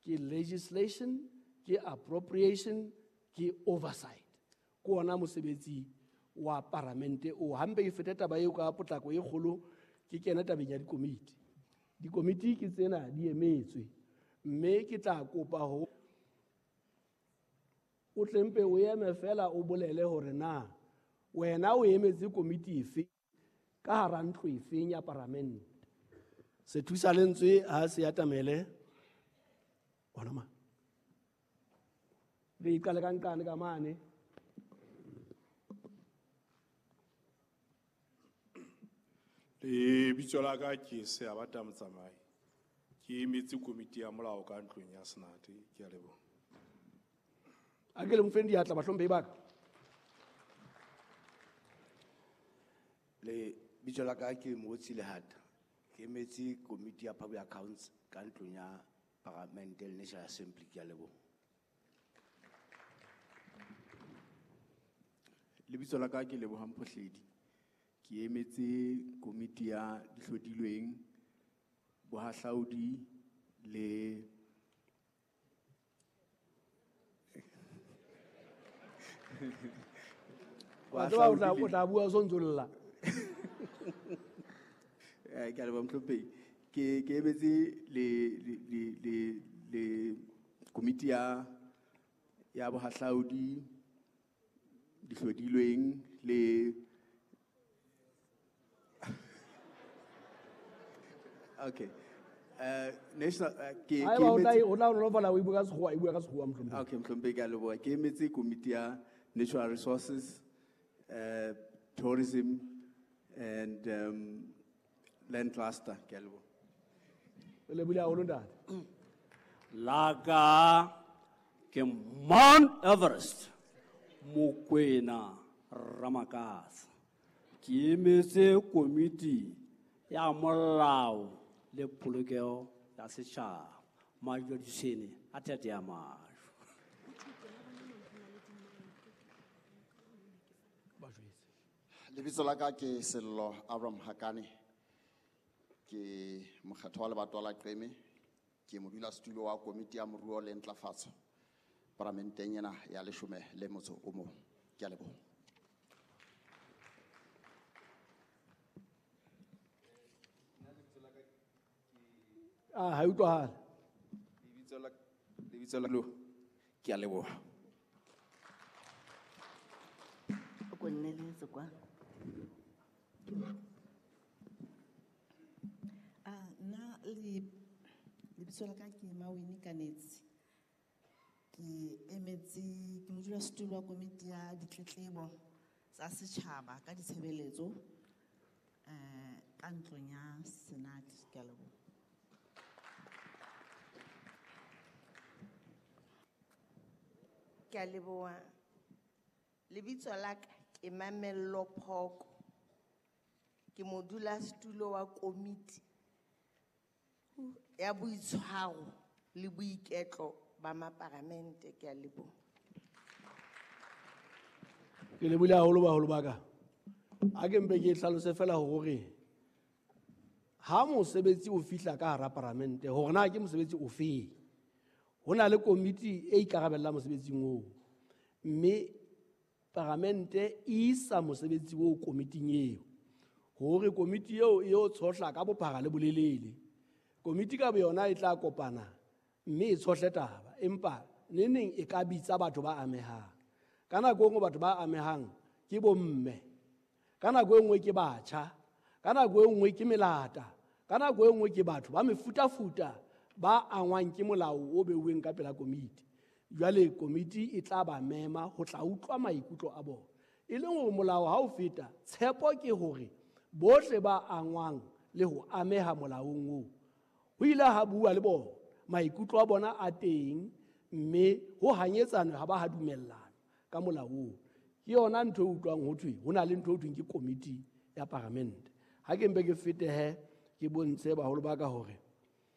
Ke legislation, ke appropriation, ke oversight. Ke ona mosebetsi wa paramente o. Hampe ke fete taba eo ka potlako e kgolo, ke kena tabeng ya dikomiti. Dikomiti ke tsena di emetswe, mme ke tla kopa ho o tle mpe o eme fela o bolele hore na wena o emetse komiti efe ka hara ntlo efeng ya paramente. Sethusa lentswe ha se atamele hona ma. Re iqale ka nqane ka mane. Lebitso la ka ke Seabata Motsamai. Ke emetse komiti ya molao ka ntlong ya Senate. Ke a leboha. A ke le mofeng diatla bahlomphehi ba ka. Lebitso la ka ke Motsi Lehata. Ke emetse komiti ya Public Accounts ka ntlong ya Parliament le National Assembly. Ke a leboha. Lebitso la ka ke Lebohang Phohledi. Ke emetse komiti ya dihlodilweng, bohahlaudi le Wa tseba o tla bua o sontso lla. Ke a leboha mohlomphehi. Ke emetse le komiti ya bohahlaudi, dihlodilweng le Okay. National, ke, Haeba ke o tla emetse e, o tla nolofala o e bua ka sekgowa, e bua ka sekgowa, mohlomphehi. Okay, mohlomphehi, ke a leboha. Ke emetse komiti ya Natural Resources, Tourism and Land Cluster. Ke a leboha. Re lebohile haholo, ntate. La ka ke Mount Everest, Mokwena Ramakasa. Ke emetse komiti ya molao le polokeho ya setjhaba. Majodisene a thete ya majwe. Lebitso la ka ke Sello Abram Hakane. Ke mokgatho wa lebatowa la Qeme. Ke modulasetulo wa komiti ya moruo le ntlafatso paramenteng ena ya leshome le motso o mong. Ke a leboha. Ah, ha e utlwahale. Lebitso la, lebitso la lo, ke a leboha. O ko nneletse kwa. Ah, nna le lebitso la ka ke Mawini Kanetsi. Ke emetse, ke modulasetulo wa komiti ya ditletlebo tsa setjhaba ka ditshebeletso, ka ntlong ya Senate. Ke a leboha. Ke a leboha. Lebitso la ka ke Mamello Phoko. Ke modulasetulo wa komiti ya boitshwaro le boiketlo ba maparamente. Ke a leboha. Ke lebohile haholo baholo ba ka. A ke mpe ke hlalose fela hore ha mosebetsi o fihla ka hara paramente, hore na ke mosebetsi ofe, ho na le komiti e ikarabellang mosebetsing oo, mme paramente e isa mosebetsi oo komiting eo, hore komiti eo e yo tshohla ka bophara le bolelele. Komiti ka boyona e tla kopana mme e tshohle taba, empa neneng e ka bitsa batho ba amehang. Ka nako e nngwe batho ba amehang ke bomme, ka nako e nngwe ke batjha, ka nako e nngwe ke melata, ka nako e nngwe ke batho ba mefutafuta ba angwang ke molao o beuweng ka pela komiti. Jwale komiti e tla ba mema ho tla utlwa maikutlo a bona. E leng hore molao ha o feta, tshepo ke hore bohle ba angwang le ho ameha molaong oo, ho ile ha bua le bona, maikutlo a bona a teng, mme ho hanyetsanwe ha ba ha dumellana ka molao oo. Ke yona ntho e utlwang ho thwe ho na le ntho e thweng ke komiti ya paramente. Ha ke mpe ke fetehe ke bontshe baholo ba ka hore